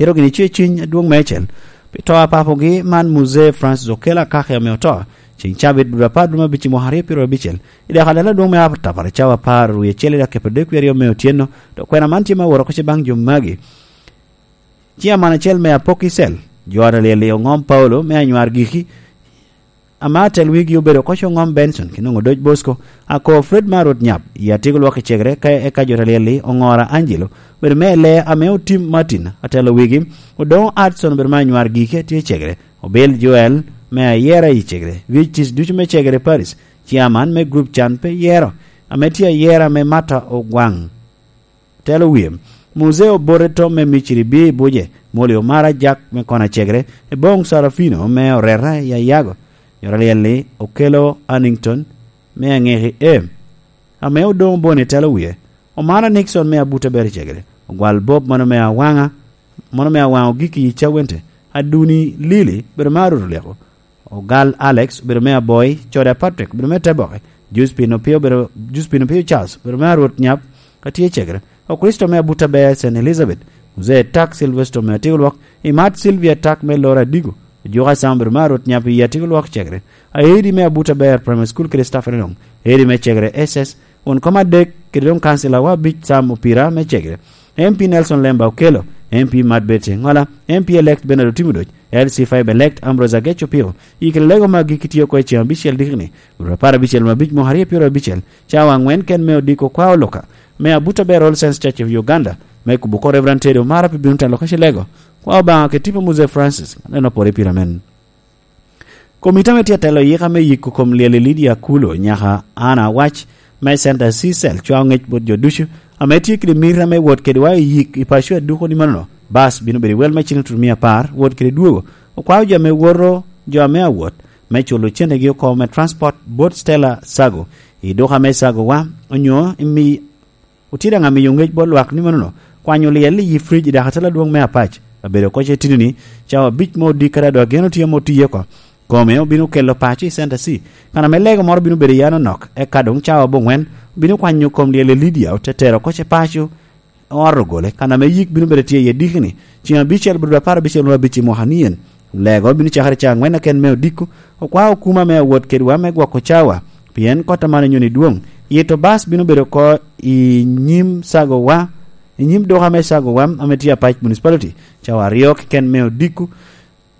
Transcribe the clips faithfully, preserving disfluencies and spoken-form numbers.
Ero gini cwe cwiny adwoŋ meicel pi to a papogi man, Muzee Francis Okello Akaki ame oto ceŋ cabit dwe apar dwe me abic i mwaka aryo pyero abicel. I dek adala adwoŋ me atapara cawa apar wie acel i dakika pyero adek wie aryo me otyeno, dok kwena man tye me awot oko ce baŋ jo magi. Ciaman acel me Apok Icel, jo a Alyel-li oŋom Paulo me anywar giki, ame atel wigi obedo oko ce oŋom Benson, ki noŋo Doc Bosco, ako Fred me Arwot Nyap, i atiko lwak i cegere, ka eka jo Alyel-li oŋora Angelo, obedo me Elea ame Otim Martin, atelo wigi, Odoŋo Adson obedo me anywar giki atye i cegere, Obil Joel me ayera i cegere, Vic Tic ducu me cegere Paris, ciaman me grup Can pe yero, ame tye ayera me Mata Ogwaŋ. Telo wie, Muzee Obote Tom me Miciri bie i buce, Moli Omara Ajak me Kona Cegere, Eboŋ Sarafino me Oreta i Ayago, jo Alyel-li Okello Annington me Aŋeki E, ame Odoŋo Boni telo wie, Omara Nixon me Abuta Bere Cegere, Ogwal Bob mano me Awaŋa, mano me Awaŋa Ogiki i Cawente, Aduni Lili bedo me Aruto Lyeko, Ogal Alex obedo me Aboi, Coda Patrick obedo me Teboke, Juspin Opio obedo, Juspin Opio Charles obedo me Arwot Nyap, ka tye i Cegere, Okricito me Abuta Ber Saint Elizabeth, Muzee Tak Silvester me Atiko Lwok, Imat Sylvia Tak me Lora Adigo, Ojuka Sam obedo me Arwot Nyap i Atiko Lwok Cegere, Aedi me Abuta Ber Primary School kede staff ene doŋ, Edi me Cegere S S, won kom adek kede doŋ kancilawa abic Sam Opira me Cegere, M P Nelson Lemba Okello, M P Mat Betty Ŋola, M P elect Bernard Otimo Doc, L C five elect Ambrose Agech Opio, yikere lego magi kitye oko i ceŋ abicel dikini, dwe apar abicel me abic mwaka aryo pyero abicel, cawa aŋwen ken me odiko kwa oloka, me Abuta Ber All Saints Church of Uganda, me kubo ko Reverend Teddy Omara pi bino telo ka ci lego, kwa Obaŋa ke tipo Muzee Francis, aneno pore pira men. Komiti ame tye atelo yika me yiko kom lyel i Lydia Kulo nyaka Anna Awac me Center C Cell cwao ŋec bot jo ducu ame tye kede miti ame wot kedwa i yik i paco aduko ni manono, bas bino bedo i wel me cene tutumia apar, wot kede dwogo. Okwao jo ame woto, jo ame awot, me culo cennegi oko me transport bot Stella Sago, i duka me Sago wa, onyo imi Otye daŋ amiyo ŋec bot lwak ni manono, kwanyo lyel i yi frij i dakatala adwoŋ me Apac, abedo oko ce tini ni, cawa abic mo odikere a dok gin otye ame otiye oko. Kome obino kelo paco i Center C, kan ame lego moro bino bedo i anonok, eka doŋ cawa aboŋwen obino kwanyo kom lyel i Lydia, ote tero oko ce paco, oto ogole, kan ame yik bino bedo tye iye dikini, ceŋ abicel bot apar abicel wunu abic i mwaka ni en. Lego bino cakere ca aŋwen aken me odiko, okwao okuma me awot kedwa me gwoko cawa, pien kot aman onyoni dwoŋ. Yito bas bino bedo oko i nyim Sagowa, i nyim duka me Sagowa ame tye Apac Municipality, cawa aryo keken me odiko.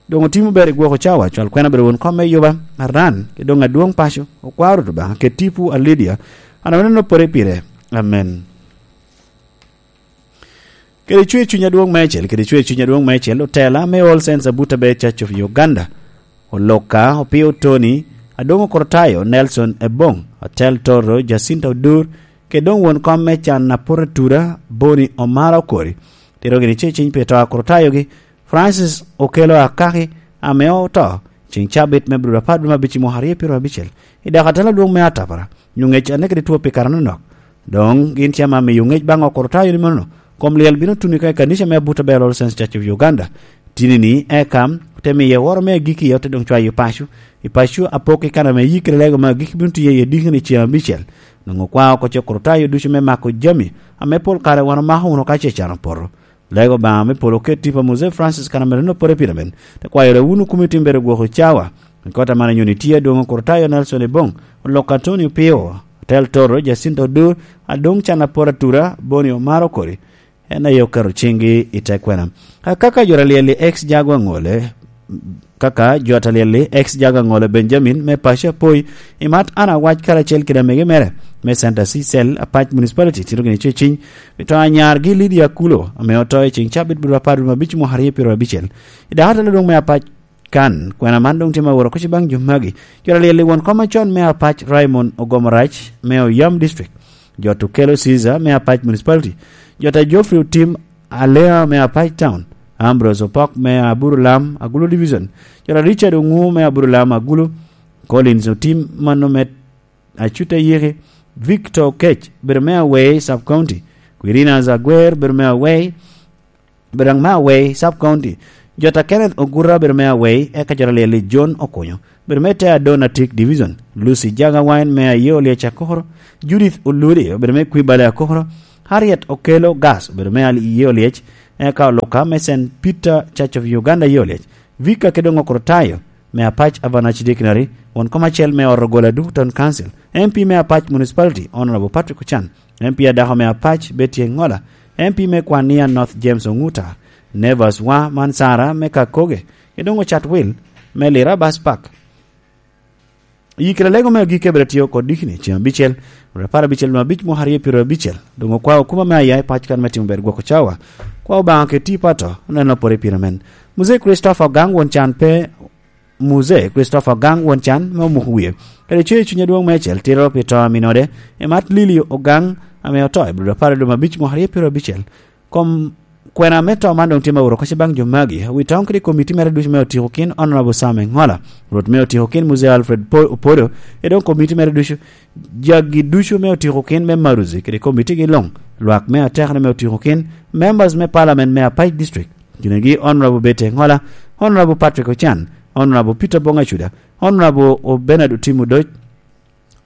Doŋ otimo ber i gwoko cawa, cwal kwena bedo won kom me yuba, aran, ki doŋ adwoŋ paco, okwao Rwot Obaŋa, ket tipo a Lydia, an ame neno pore pire. Amen. Kede cwer cuny adwoŋ meicel, kede cwer cuny adwoŋ meicel, otela me All Saints Abuta Bed Church of Uganda, Oloka Opio Tony, Adongo Korotayo Nelson Ebong, Atel Toro Jacinta Odur, kede doŋ won kom me can Apura Tura, Boni Omara Okori, tero gini ceciny pi to a Korotayogi, Francis Okello Akaki, ame oto, ceŋ cabit me Abril apar dwe me abic i mwaka aryo pyero abicel, i dako atela adwoŋ me Atapara, nyo ŋec ane kede two pi kare anonok. Doŋ gin tye ame amiyo ŋec baŋ Okorotayo ni manono, kom lyel bino tuno i kanica me Abuta Bel All Saints Church of Uganda. Tini ni eka te miye woro me agikki, ote doŋ cwayo paco, i paco Apok i kan ame yikkere lego me agikki bino tiye i adikki ni ceŋ abicel. Nwoŋo kwa oko ce Okorotayo ducu me mako jami, ame pol kare wan omako wunu ka ce can opoto. Lego Obaŋa me polo oket tipo a Mose Francis kan ame rinno pore pire men, te kwayo ra wunu kumi tim bedo gwoko cawa. I kota man anyoni tye adwoŋ Okorotayo Nelson Ebong, Olok Antonio Pio, Otel Toro, Jacinta Odur, Adwoŋ Can Apor Atura, Boni Omar Okori, en aye oketo ciŋgi i te kwena. Akaka jo Alyel-li ex Jago Aŋole, kaka jo Alyel-li ex Jago Aŋole Benjamin me paco Apoi, Imat Anna Awac karacel kede amege mere me Center C Cell Apac Municipality tito gini ceciny, pi to anyargi Lydia Akulo, ame oto i ceŋ cabit bur apar dwe me abic mwaka aryo pyero abicel. I dako atela adwoŋ me Apac kan, kwena man doŋ tye ma woro kuc baŋ jo magi. Jo Alyel-li won kom acon me Apac Raymond Ogomorac me Oyam District, jo Tukelo Caesar me Apac Municipality, jo ta Geoffrey Otim Alea me Apac Town, Ambrose Opok me Aburu Lam Agulu Division, jo ta Richard Oŋu me Aburu Lam Agulu, Collins Otim mano me Acuta Yeke, Victor Okech bedo me Awei Sub County, Quirina Zagwer bedo me Awei, bedo me Awei Sub County, jo ta Kenneth Oguta bedo me Awei, eka jo Alyel-li John Okunyo bedo me te Adon Atik Division, Lucy Jaga Wine me Aye Olyec Akokoro, Judith Oludi obedo me Kwibale Akokoro, Harriet Okello Gas obedo me Aye Olyec, eka oluka me Saint Peter Church of Uganda Yolec, Vika kede Ngokoro Tayo, me Apac Avanach Dictionary, won kom acel me Orogola Duku Town Council, M P me Apac Municipality, Honorable Patrick Ochan, M P adako me Apac Betty Engola, M P me Kwania North James Onguta, Nevers Wa Mansara me Kakoge, kede Ongo Chatwil me Lira Bus Park. Yikere lego me agikki abiro tio kod dikini ceng abicel, rwet apar abicel me abic mwaka aryo pyero abicel. Doŋ okwao okuma me aya i pac kan me timo ber gwoko cawa. Kwa Obaŋa keti pato, oneno pore pire men. Muzee Christopher Ogang won can pe, Muzee Christopher Ogang won can me omuko wie. Kede coyo cuny adwoŋ me acel tiro pi to aminode, i mat Lili Ogang ame oto i Abril apar adwoŋ abic mwaka aryo pyero abicel. Kom kwena me to man doŋ tye ma oro kocce baŋ jo magi. Wi toŋ kede komiti mere ducu me otiko kin Honorable Sam Engola, Rwot me otiko kin Muzee Alfred Po-, Opodo, e doŋ komiti mere ducu, jagi ducu me otiko kin me Maruzi kede komiti gi luŋ, lwak me atekere me otiko kin, members me parliament me Apac District, kinegi Honorable Betty Engola, Honorable Patrick Ochan, Honorable Peter Bong Acuda, Honorable Bernard Otim Odoc,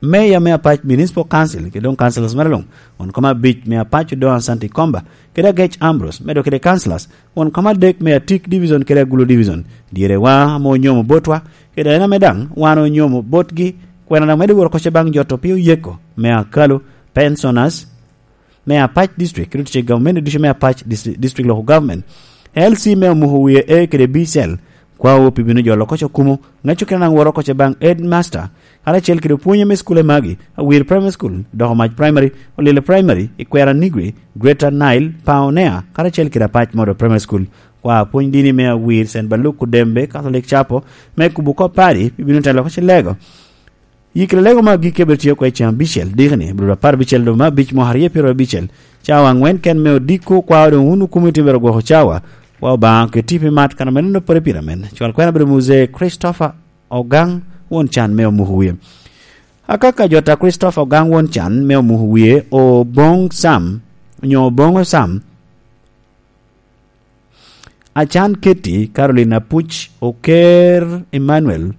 Mayor me Apac Municipal Council, kede doŋ councilors mere luŋ, won kom abic me Apac Odongo Asante Komba, kede Agec Ambrose, medo kede councilors, won kom adek me Atik Division kede Agulu Division, dyere wa ame onyomo botwa, kede en ame daŋ wan onyomo botgi, kwena daŋ medo woro kocce baŋ jo to piny oyeko, me Akalu, pensioners, me Apac District, kede otic gavumenti ducu me Apac Dis-, District Local Government, L C me omuko wie A kede B cell, kwao pi bino jolo kocce okumo, ŋeco kede naŋ woro kocce baŋ headmaster, karacel kede opwonye me cukule magi, Awir Primary School, Doko Mac Primary, Olile Primary, Ikwera Nigri, Greater Nile, Paonea, karacel kede Apac Model Primary School. Kwa pwony dini me Awir Saint Baluk Kudembe Catholic Chapel, me kubo kop padi, pi bino telo kocce lego. Yikere lego me agikki abiro tio kede ceng abicel, dikini, Abril apar abicel dwe me abic mwaka aryo pyero abicel, cawa aŋwen ken me odiko, kwao doŋ wun okumo itye bero gwoko cawa, wa Obaŋa keti pi mat kan ame neno pore pire men. Cwal kwena bedo Muzee Christopher Ogang won can me omuko wie. Akaka jota Christopher Ogang won can me omuko wie, Oboŋ Sam, onyo Oboŋo Sam, Acan Keti, Caroline Apuc, Oker Emmanuel,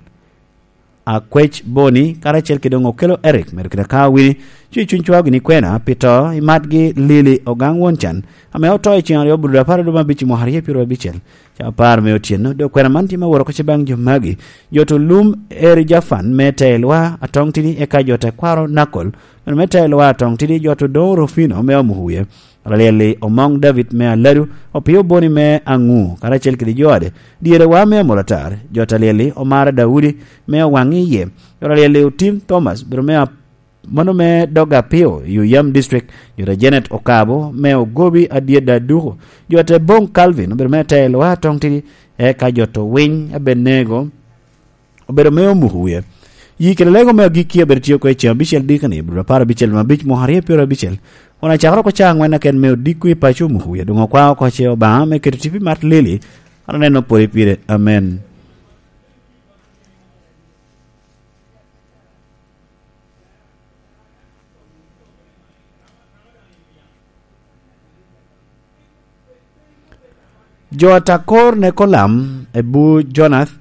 Akwec Boni, karacel kede doŋ Okelo Eric, medo kede ka wini, cuc cuny cwao gini kwena, pi to, i matgi Lili Ogang won can, ame oto i ceng aryo Abril apar adwoŋ abic i mwaka aryo pyero abicel. Ca apar me otyeno, dok kwena man tye ma woro kocce baŋ jo magi, jo to lum Eri Jafan me Teelwa Atoŋ Tidi, eka jo te kwaro Nakol, medo me Teelwa Atoŋ Tidi, jo to doŋ Rufino me Omuhuye. Ralyel-li Omoŋ David me Aladu, Opio Boni me Aŋu, karacel kede jo ade, dyere wa me Amolatar, jo Talyel-li Omara Daudi me Owaŋ Iye, jo Ralyel-li Otim Thomas, bedo me ap-, mano me Dog Apio, i Oyam District, jo ta Janet Okabo me Ogobi Adyeda Duko, jo te Boŋ Calvin, bedo me Teelwa Atoŋ Tidi, eka jo to Winy Abenego, obedo me omuko wie. Yi kede lego me agikki abedo tio kede ceng abicel dikani, Abril apar abicel me abic mwaka aryo pyero abicel. Kun acakere oko ca aŋwen aken me odiko i paco omuko wie, doŋ okwao oko ce Obaŋa me keto tipo i mat Lili, an aneno pwod pire. Amen. Jo a Takor ne Kolam, Ebu Jonath,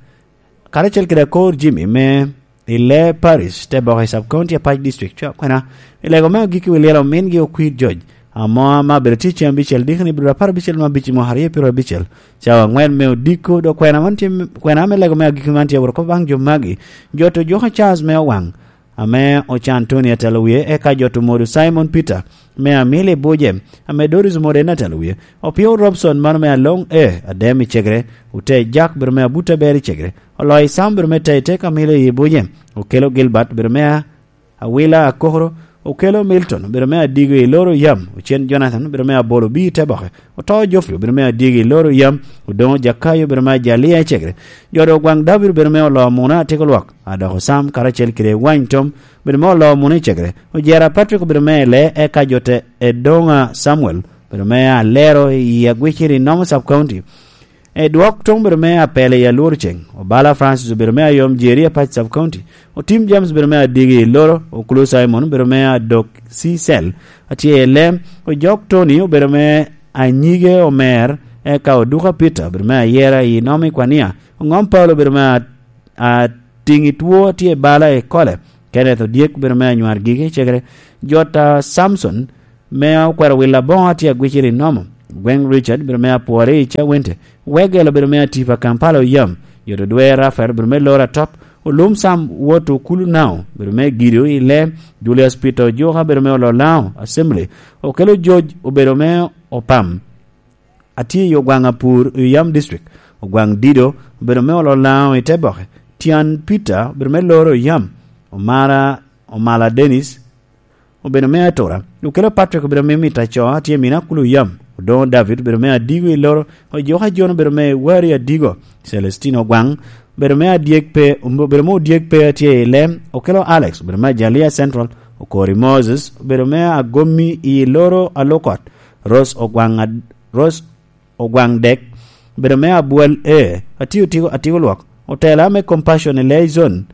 karacel kede Akor Jimmy me i Lee Parish, te boko i Sub County Apac District, cwa kwena, i lego me agikki wi lyel omingi Okwir Joj, amo ama bedo tye ceng abicel dikoni Abril apar abicel me abic i mwaka aryo pyero abicel, cawa aŋwen me odiko, dok kwena man tye, kwena me lego me agikki man tye aworo kop baŋ jo magi, jo to Joka Charles me Owaŋ, ame Ocan Tony atelo wie, eka jo to Modu Simon Peter, me Amili Buje, ame Doris Modu en atelo wie, Opio Robson mano me Aloŋ E, Adem i Cegere, Ote Jack bedo me Abuta Ber i Cegere, Oloi Sam bedo me Tei Tek Amili i Buje, Okelo Gilbert bedo me A-, Awila Akokoro, Okelo Milton bedo me Adigo i Loro Yam, Ocen Jonathan bedo me Abolo Bi i Teboke, Oto Geoffrey obedo me Adyegi i Loro Yam, Odoŋo Jakayo obedo me Ajalia i Cegere, jo dok Gwaŋ David obedo me Olo Muna Atyeko Lwak, Adoko Sam karacel kede Wany Tom obedo me Olo Muna i Cegere, Ojera Patrick obedo me Ele, eka jo te Edoŋa Samuel obedo me Alero i Agwiciri i Nomo Sub County, Edwok Tom obedo me Apele i Alworo Ceng, Obala Francis obedo me Ayom Jeri Apac Sub County, Otim James obedo me Adyegi i Loro, Okulu Simon obedo me Adok C Cell, atye i Lem, Ojok Tony obedo me Anyige Omer, eka Oduka Peter obedo me Ayera i Nomi Kwania, Oŋom Paulo obedo me A-, Atiŋi Two atye i Bala i Kole, Kenneth Odyek obedo me Anywar Gigi i Cegere, Jota Samson me Okwero Wil Aboŋo atye Agwiciri i Nomo, Gweng Richard, bedo me Apwori i Cawente. Wegel, obedo me Atipa, Kampala, oyam. Yoto Dwe Rafael, obedo me Lora Top. Olum Sam, wot Okulu Nao, obedo me Gido i Lem. Julius Peter Ojuka, obedo me Ololao Assembly. Okelo George, obedo me Opam. Atye i Ogwaŋ Apur i Oyam District. Ogwaŋ Dido, obedo me Ololao i Teboke. Tian Peter, obedo me Loro Oyam. Omara, Omala Dennis, obedo me Atura. Okelo Patrick, obedo me Mita Co, atye i Mina Kulu Yam. Odoŋo David, obedo me Adigo i Loro. Ojoka John, obedo me Wari Adigo. Celestino Ogwaŋ, obedo me Adyek pe, obedo me Odyek pe, atye i Lem. Okelo Alex, obedo me Ajalia Central. Okori Moses, obedo me Agomi i Loro Alokot. Rose Ogwaŋ Ad-, Rose Ogwaŋ Dek, obedo me Abwal A, atio tiko, atiko lwok. Otela me Compassion i Leyzon,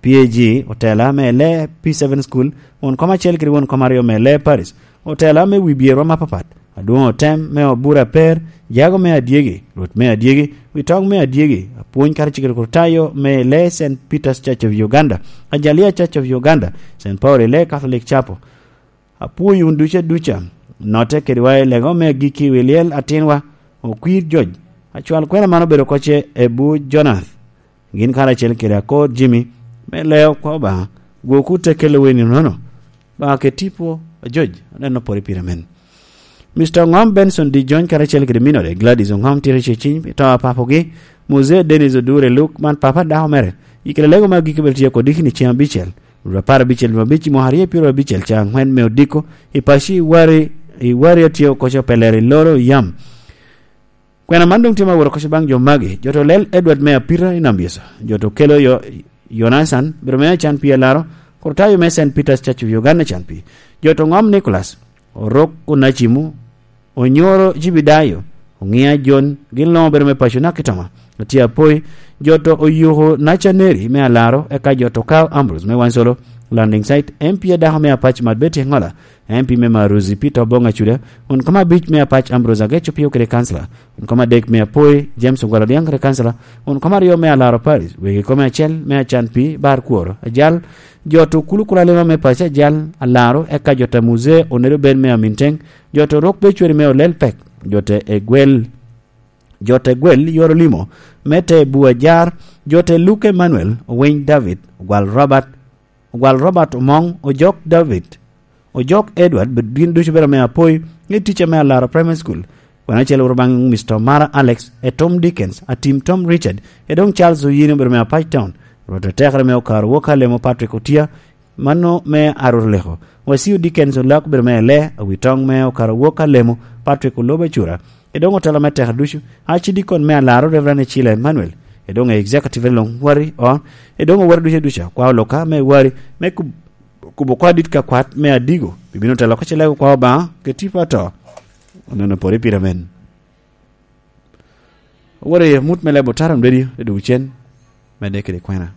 P A G, otela me le P seven School, won kom acel kede won kom aryo me le Paris. Otela me wi bierwa mapapat, adwoŋ otem me Obura Per, jago me Adyegi, rwot me Adyegi, wi toŋ me Adyegi, apwony kara cikere kuro tayo me le Saint Peter's Church of Uganda, Ajalia Church of Uganda, Saint Paul i le Catholic Chapel. Apwoyo wun ducu aduca. Notte kediwa i lego me agikki wi lyel atinwa, Okwir Joc. Acwal kwena man obedo kocce Ebu Jonath. Gin karacel kede Akor Jimmy, me leo kwa Obaŋa, gwoku te kelo weni nono. Obaŋa ke tipo, Joc, aneno pore pire men. Mister Ngom Benson Di Jony karacel kede minode, Gladys Ongom tito ceciny, pi to a papogi, Muzee Dennis Odure Luk, man papa dako mere. I kede lego me agikki bene tye kodi kini ceng abicel. Rwot apar abicel dwe abic i mwaka aryo pyero abicel ca angwen me odiko, i paco i Wari, i Wari atye okoco pelero i Loro Yam. Kwena man doŋ tye ma woro okoco baŋ jo magi, jo to lel Edward me Apira i Nambisa, jo to kelo yo, Yonasan, biro me acan pi alaro, kor tayo me Saint Peter's Church of Uganda can pi, jo to Ngom Nicholas, Orok Onacimu, Onyoro Jibidayo, Oŋia Jon, gin luŋ obedo me paco naka i Toma. Otye apoi, jo to Oyuko Nacaneri me Alaro, eka jo to Carl Ambrose me Wansolo, Landing Site, M P adako me Apac Mat Betty Engola, M P me Maruzi Peter Obong Acuda, won kom abic me Apac Ambrose Ageco Pio kede kansala, won kom adek me Apoi James Ogwal Odhiang kede kansala, won kom aryo me Alaro Paris, wegi kom acel me Acan Pi Bar Kworo, Ajal, jo to Kulu Kulalima me Paco Ajal, Alaro, eka jo to Muzee Onedo Ben me Aminteng, jo to Rok Becweri me Olel Pek, jo to Egwel, jo to Egwel Yor Olimo, me te Bua Jar, jo to Luke Emmanuel, Owiny David, Ogwal Robert, Ogwal Robert Omoŋ, Ojok David, Ojok Edward, be-, gin ducu bedo me Apoi, i ticca me Alaro Primary School. Wan acel wuro baŋ Mister Mara Alex, e Tom Dickens, Atim Tom Richard, e doŋ Charles Oyini obedo me Apac Town. Rwot otekere me okaro wok Alemo Patrick Otia, mano me Arur Leko. Wasio Dickens Olak obedo me Ele, awi toŋ me okaro wok Alemo Patrick Olobo Acura. E doŋ otelo me teka ducu, Archdeacon me Alaro Reverend Ecila Emmanuel. E doŋ e executive luŋ wari on, e doŋ owari ducu ducu, kwa oloka me wari, me kub-, kubo kwa dit ka kwat me Adigo, bibino telo ka cilego kwa Obaŋa, ke tipo ato. Onono pore pire men. Owore mut me lebo tara mdedi, e duk cen, me dek kede kwena.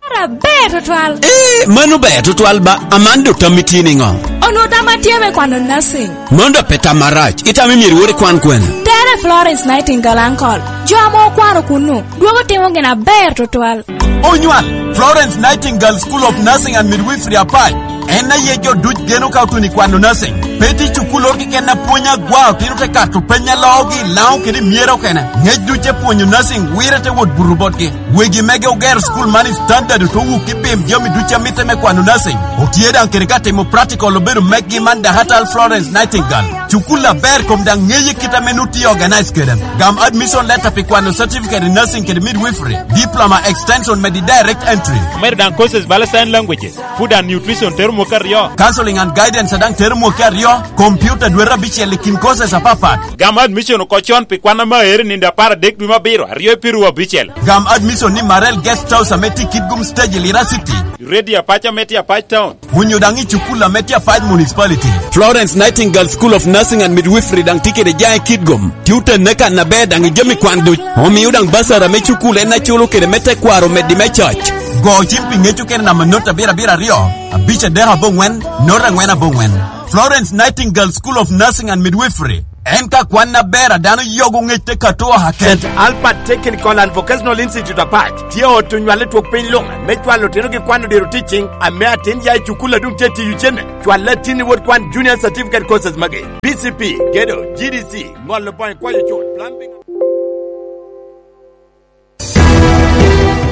Tara ber tutwal. Eh, mano ber tutwal ba, aman dok tam itye niŋo? Onwo tam atye me kwano nursing. Mano dok pe tam marac, itam imyero iwot ikwan kwene? Tere Florence Nightingale Uncle. Jo ame okwano kunnu, dwogo timo gin aber tutwal. Onywal, Florence Nightingale School of Nursing and Midwifery Apac. En aye jo duc geno ka otuno i kwano nursing. Pe tye cukul oro keken apwony agwa, otino te kato peny aloogi i Laŋo kede i Myero okene. Ngec duc te pwonyo nursing, wire te wot buto botgi. Wegi mege ogero cukul man i standard, ote wuk i pim jami duc a mitte me kwano nursing. Otye daŋ kede ka timo practical obedo meggi man Dahatal Florence Nightingale. Cukul aber kom daŋ ŋeye kit ame nut tye organize kede. Gam admission letter pi kwano certificate in nursing kede midwifery, diploma extension medi direct entry. Omedo daŋ courses bala sign languages, food and nutrition tero mwaka aryo. Counseling and guidance daŋ tero mwaka aryo, computer dwete abicel i kin courses apapat. Gam admission oko con pi kwan ame aere nindo apar adek dwe me abiro, aryo i piru abicel. Gam admission ni Marel Guest House ame tye i Kitgum Stage i Lira City. Ready Apac ame tye Apac Town. Onyo daŋ i cukul ame tye Apac Municipality. Florence Nightingale School of Nursing and Midwifery daŋ tye kede jaŋ i Kitgum. Tye otenne kan aber daŋ i jami kwan duc. Omio daŋ basara me cukul en aculo kede me tekwaro meddi me coc. Go cim pi ŋec okene namba not abiro abiro aryo, abic adek aboŋwen, not angwen aboŋwen. Florence Nightingale School of Nursing and Midwifery. En ka kwan aber a dano yogo ŋec te Katoa Saint Albert Technical and Vocational Institute Apac tye ot onywal i twok piny luŋ me cwalo otino ki kwano diro teaching ame atin ya i cukul a dum tye tiyo cene. Cwal atin i wot kwan junior certificate courses magi: B C P, gedo, G D C, ŋolo boŋo kwayo cut, plumbing.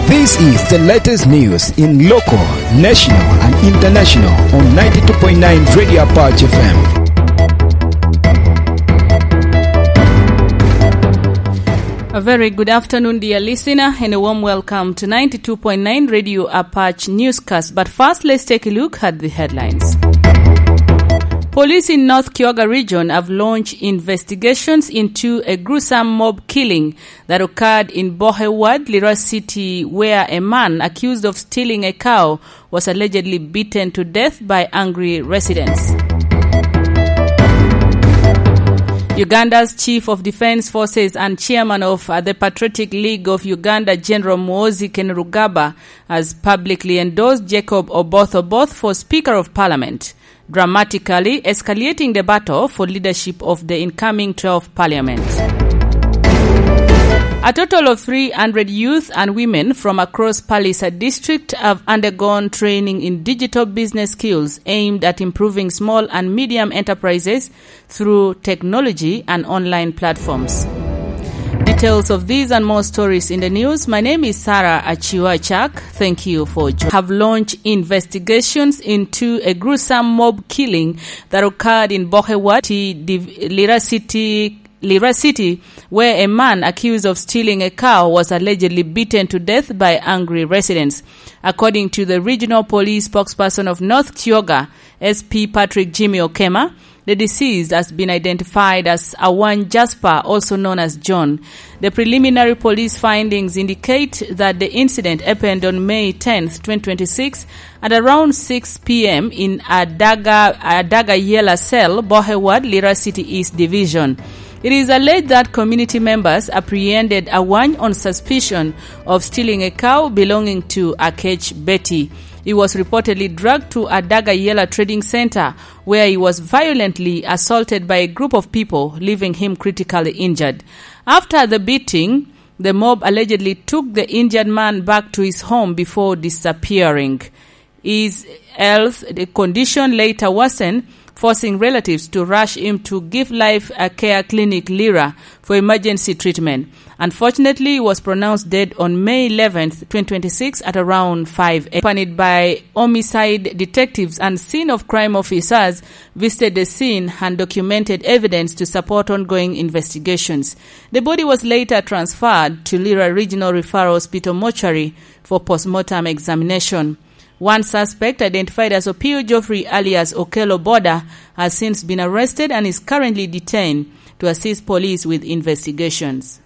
This is the latest news in local, national, and international on ninety-two point nine Radio Apache F M. A very good afternoon, dear listener, and a warm welcome to ninety-two point nine Radio Apache Newscast. But first, let's take a look at the headlines. Police in North Kyoga region have launched investigations into a gruesome mob killing that occurred in Bohe Ward, Lira City, where a man accused of stealing a cow was allegedly beaten to death by angry residents. Uganda's Chief of Defense Forces and Chairman of, uh, the Patriotic League of Uganda, General Muhoozi Kainerugaba, has publicly endorsed Jacob Oboth Oboth for Speaker of Parliament, dramatically escalating the battle for leadership of the incoming twelfth Parliament. A total of three hundred youth and women from across Pallisa district have undergone training in digital business skills aimed at improving small and medium enterprises through technology and online platforms. Details of these and more stories in the news. My name is Sarah Achiwa Chak. Thank you for joining. Have launched investigations into a gruesome mob killing that occurred in Bohe Ward, Div-, Lira City, Lira City, where a man accused of stealing a cow was allegedly beaten to death by angry residents. According to the regional police spokesperson of North Kyoga, S P Patrick Jimmy Okema, the deceased has been identified as Awany Jasper, also known as John. The preliminary police findings indicate that the incident happened on May tenth, twenty twenty-six, at around six p m in Adaga, Adaga Yela Cell, Bohe Ward, Lira City East Division. It is alleged that community members apprehended Awany on suspicion of stealing a cow belonging to Akech Betty. He was reportedly dragged to Adaga Yela Trading Center, where he was violently assaulted by a group of people, leaving him critically injured. After the beating, the mob allegedly took the injured man back to his home before disappearing. His health, the condition later worsened, forcing relatives to rush him to Give Life, a care clinic, Lira, for emergency treatment. Unfortunately, he was pronounced dead on May eleventh, twenty twenty-six, at around five a m. Accompanied by homicide detectives and scene of crime officers, visited the scene and documented evidence to support ongoing investigations. The body was later transferred to Lira Regional Referral Hospital mortuary for postmortem examination. One suspect, identified as Opio Geoffrey alias Okello Boda, has since been arrested and is currently detained to assist police with investigations.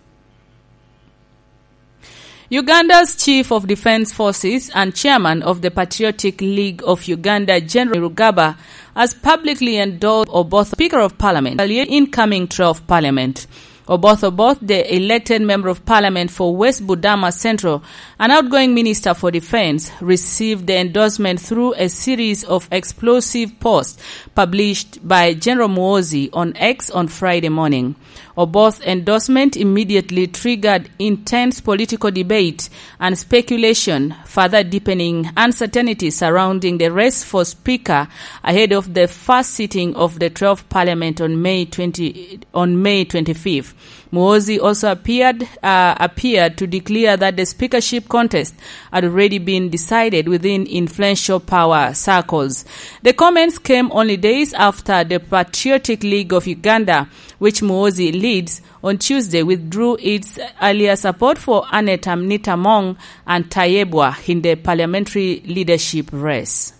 Uganda's Chief of Defense Forces and Chairman of the Patriotic League of Uganda, General Rugaba, has publicly endorsed Oboth, Speaker of Parliament, the incoming twelfth Parliament. Oboth Oboth, the elected Member of Parliament for West Budama Central, an outgoing Minister for Defense, received the endorsement through a series of explosive posts published by General Muhoozi on X on Friday morning. Oboth's endorsement immediately triggered intense political debate and speculation, further deepening uncertainty surrounding the race for Speaker ahead of the first sitting of the twelfth Parliament on May twenty, on May twenty-fifth. Muhoozi also appeared, uh, appeared to declare that the speakership contest had already been decided within influential power circles. The comments came only days after the Patriotic League of Uganda, which Muhoozi leads, on Tuesday withdrew its earlier support for Annet Anita Among and Tayebwa in the parliamentary leadership race.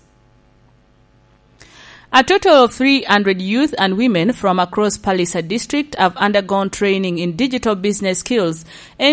A total of three hundred youth and women from across Pallisa district have undergone training in digital business skills aimed